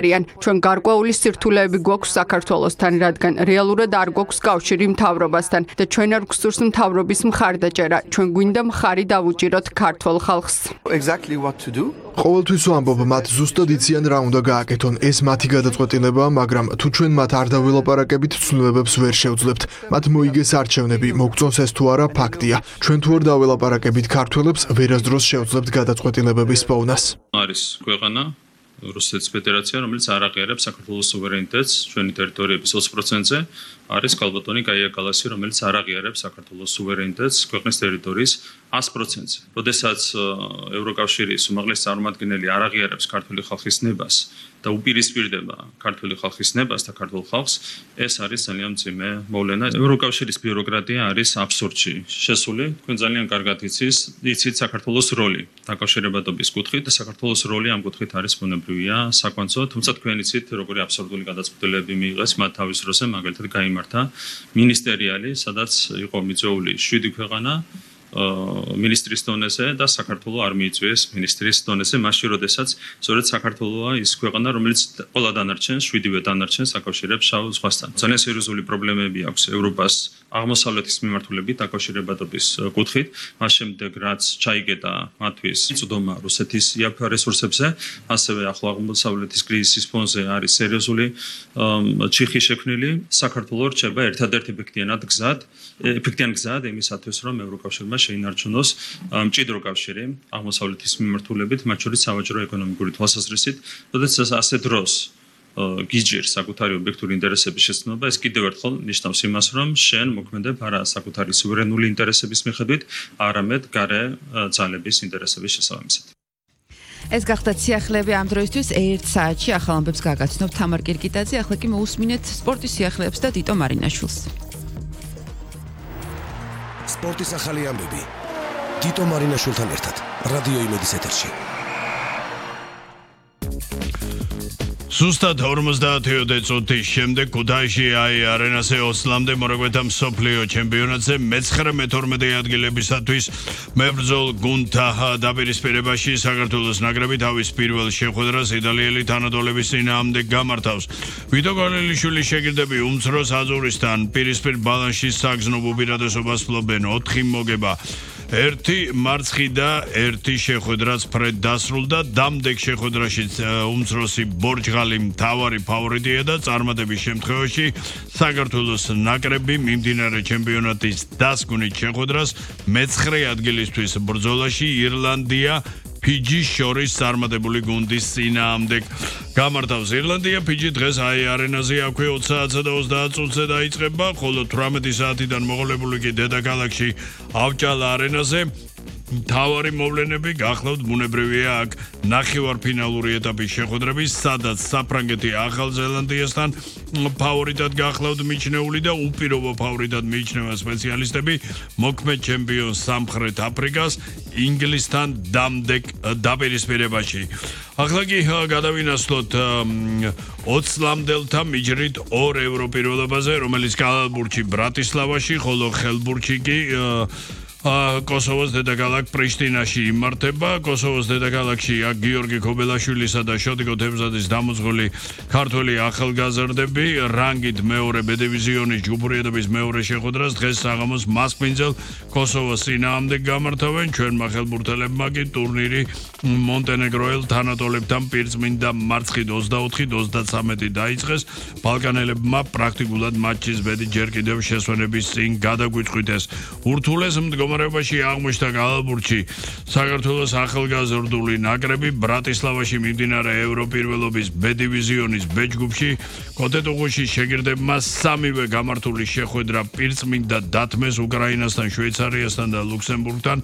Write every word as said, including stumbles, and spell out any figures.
ჩვენ გარკვეული სირთულეები გვაქვს საქართველოსთან, რადგან რეალურად არ გვაქვს კავშირი მთავრობასთან და ჩვენ არ გვსურს მთავრობის მხარდაჭერა. ჩვენ გვინდა მხარი დავუჭიროთ ქართულ ხალხს. Exactly what to do? ყოველთვის ვამბობ, მათ ზუსტად იციან რა უნდა გააკეთონ. ეს მათი გადაწყვეტილებაა, მაგრამ თუ ჩვენ მათ არ დავილაპარაკებით, ცვლილებებს ვერ შევძლებთ. მათ მოიგეს არჩევნები, მოგწონს ეს თუ არა, ფაქტია. ჩვენ თუ არ დავილაპარაკებით ქართველებს, ვერასდროს შევძლებთ გადაწყვეტილებების პოვნას. არის ქვეყანა რუსეთის ფედერაცია, რომელიც არ აღიარებს საქართველოს სუვერენიტეტს ჩვენი ტერიტორიების ოცი პროცენტზე, არის ქალბატონი კაია კალასი, რომელიც არ აღიარებს საქართველოს სუვერენიტეტს ქვეყნის ტერიტორიის ას პროცენტზე. როდესაც ევროკავშირის უმაღლესი წარმომადგენელი არ აღიარებს ქართული ხალხის ნებას და უპირისპირდება ქართული ხალხის ნებას და ქართულ ხალხს, ეს არის ძალიან მძიმე მოვლენა. ევროკავშირის ბიუროკრატია არის აბსურდში შესული. თქვენ ძალიან კარგად იცით, იცით საქართველოს როლი დაკავშირებადობის კუთხით და საქართველოს როლი ამ კუთხით არის ბუნებრივია, საკვანძო, თუმცა თქვენ იცით, როგორი აბსურდული გადაწყვეტილებები მიიღეს მათ თავის დროზე, მაგალითად გაიმართა მინისტერიალი, სადაც იყო მიწვეული შვიდი ქვეყანა მინისტრის დონეზე და საქართველოს არ მიიწვიეს მინისტრის დონეზე, მაშინ როდესაც სწორედ საქართველოა ის ქვეყანა, რომელიც ყველა დანარჩენს, შვიდივე დანარჩენს აკავშირებს შავ ზღვასთან. ძალიან სერიოზული პრობლემები აქვს ევროპას აღმოსავლეთის მიმართულებით დაკავშირებადობის კუთხით, მას შემდეგ რაც ჩაიგედა მათთვის წვდომა რუსეთის იაფ რესურსებზე, ასევე ახლო აღმოსავლეთის კრიზისის ფონზე არის სერიოზული ჩიხი შექმნილი. საქართველოს რჩება ერთადერთი ეფექტიანად გზად, ეფექტიანი გზად იმისათვის, რომ ევროკავშირმა შეინარჩუნოს მჭიდრო კავშირი აღმოსავლეთის მიმართულებით, მათ შორის სავაჭრო ეკონომიკური თვალსაზრისით, როდესაც ასე დროს გიჯერს საკუთარი ობიექტური ინტერესების შეცნობა, ეს კიდევ ერთხელ ნიშნავს იმას, რომ შენ მოქმედებ არა საკუთარი სუვერენული ინტერესების მიხედვით, არამედ გარე ძალების ინტერესების შესაბამისად. ეს გახდა სიახლეები ამ დროისთვის ერთ საათში ახალ ამბებს გაგაცნობ თამარ კირკიტაძე, ახლა კი მოусმინეთ სპორტის სიახლეებს და ტიტო მარინაშვილს. სპორტის ახალი ამბები ტიტო მარინაშვილთან ერთად რადიო იმედის ეთერში. ზუსტად ორმოცდაათი წუთის შემდეგ ქუთაისში აი არენაზე ოცლამდე მორაგბეთა მსოფლიო ჩემპიონატზე მეცხრე მეთორმეტე ადგილებისათვის მებრძოლ გუნდთა დაპირისპირებაში საქართველოს ნაკრები თავის პირველ შეხვედრას იტალიელი თანატოლების წინააღმდეგ გამართავს. ვიტო გორელიშვილის შეგირდები უმცროს აზურისთან პირისპირ ბალანსში საგზნობ უპირატესობას ფლობენ ოთხი მოგება. ერთი მარცხი და ერთი შეხვედრაც ფრედ დასრულდა. დამდეგ შეხვედრაში უმცროსი ბორჯღალი მთავარი ფავორიტია და წარმატების შემთხვევაში საქართველოს ნაკრები მიმდინარე ჩემპიონატის დასკვნით შეხვედრას მეცხრე ადგილისთვის ბრძოლაში ირლანდია ფიჯის შორის წარმატებული გუნდის წინააღმდეგ გამართავს. ირლანდია ფიჯი დღეს აი არენაზე აქვე ოცი საათსა და ოცდაათ წუთზე დაიწყება, ხოლო თვრამეტი საათიდან მოყოლებული კი დედაქალაქში ავჭალა არენაზე. მთავარი მოვლენები გახლავთ ბუნებრივია აქ ნახევარფინალური ეტაპის შეხვედრები, სადაც საფრანგეთი ახალ ზელანდიასთან ფავორიტად გახლავთ მიჩნეული და უპირობო ფავორიტად მიიჩნევა სპეციალისტები მოქმედ ჩემპიონს სამხრეთ აფრიკას ინგლისთან დამდეგ დაპირისპირებაში. ახლა კი გადავინაცვლოთ ოცლამდელთა მიჯრით ორ ევროპირველობაზე, რომელიც კალალბურჩი ბრატისლავაში, ხოლო ხელბურჩი კი კოსოვოს დედაქალაქ პრიშტინაში იმართება. კოსოვოს დედაქალაქში აქ გიორგი ქობელაშვილისა და შოტიკო თემზადის დამოძღოლი ქართველი ახალგაზრდები რანგით მეორე ბ დივიზიონის ჯგუფურიადობის მეორე შეხვედრას დღეს საღამოს მასპინძელ კოსოვოს წინააღმდეგ გამართავენ. ჩვენმა ხელბურთელებმა კი ტურნირი მონტენეგროელ თანატოლებთან პირწმინდა მარცხით ოცდაოთხით ოცდათრამეტი დაიწყეს. ბალკანელებმა პრაქტიკულად მატჩის ბედი ჯერ კიდევ შესვენების წინ გადაგვიწყვიტეს. ურთულეს მდგომარეობაში აღმოჩნდა კალალბურჩი საქართველოს ახალგაზრდული ნაკრები ბრატისლავაში მიმდინარე ევროპირველობის ბ დივიზიონის ბ ჯგუფში კოტეტუღუში შეგირდებმა სამივე გამართული შეხვედრა პირწმინდა დათმეს უკრაინასთან, შვეიცარიასთან და ლუქსემბურგთან.